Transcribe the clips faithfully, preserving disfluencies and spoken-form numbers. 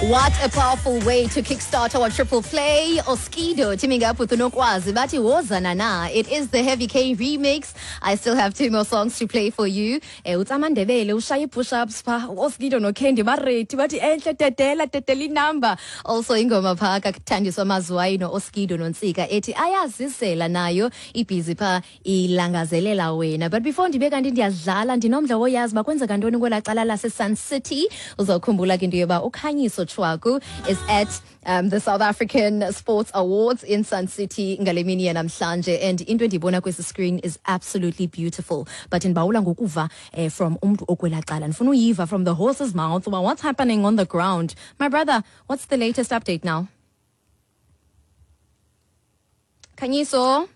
What a powerful way to kickstart our triple play. Oskido teaming up with uNokwazi bathi wozana na. It is the Heavy K remix. I still have two more songs to play for you. Eh uTsamandebele ushaya push-ups pha. Oskido noCandy ba-ready bathi enhle dedela dedela inumber. Also ingoma pha kaThandiswa Mazwai noOskido noNtsika ethi ayazisela nayo ibhizi pha ilangazelela wena. But before ndibe kanti ndiyadlala ndinomdla woyazi bakwenzeka ntoni kwelaa cala lase Sun City. Uzawukhumbula ke into yoba uKhanyiso Tshwaku is at um, the South African Sports Awards in Sun City ngale mini yanamhlanje and into endiyibona kwesi screen is absolutely beautiful but ndibawula ngokuva eh, from umntu okwelaa cala ndifuna uyiva from the horse's mouth uba what's happening on the ground my brother what's the latest update now Khanyiso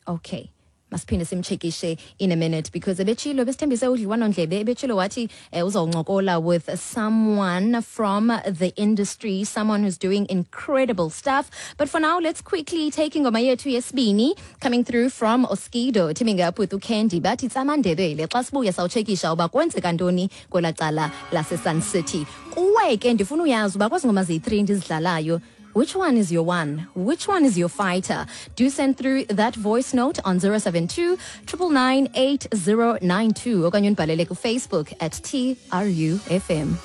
okay masiphinde simchekishe in a minute because ebetshilo besithembise udliwano-ndlebe ebetshilo wathi eh, uzawuncokola with someone from the industry someone who's doing incredible stuff but for now let's quickly take ingoma yethu yesibini coming through from Oskido teaming up with uCandy bathi tsamandebele xa sibuya sawutshekisha uba kwenzeka ntoni kwelaa cala lase-Sun City kuwe ke ndifuna uyazi uba kwezi ngoma ziyi-three ndizidlalayo Which one is your one? Which one is your fighter? Do send through that voice note on zero seven two triple nine eight zero nine two okanye undibhalele ku-Facebook at T R U F M.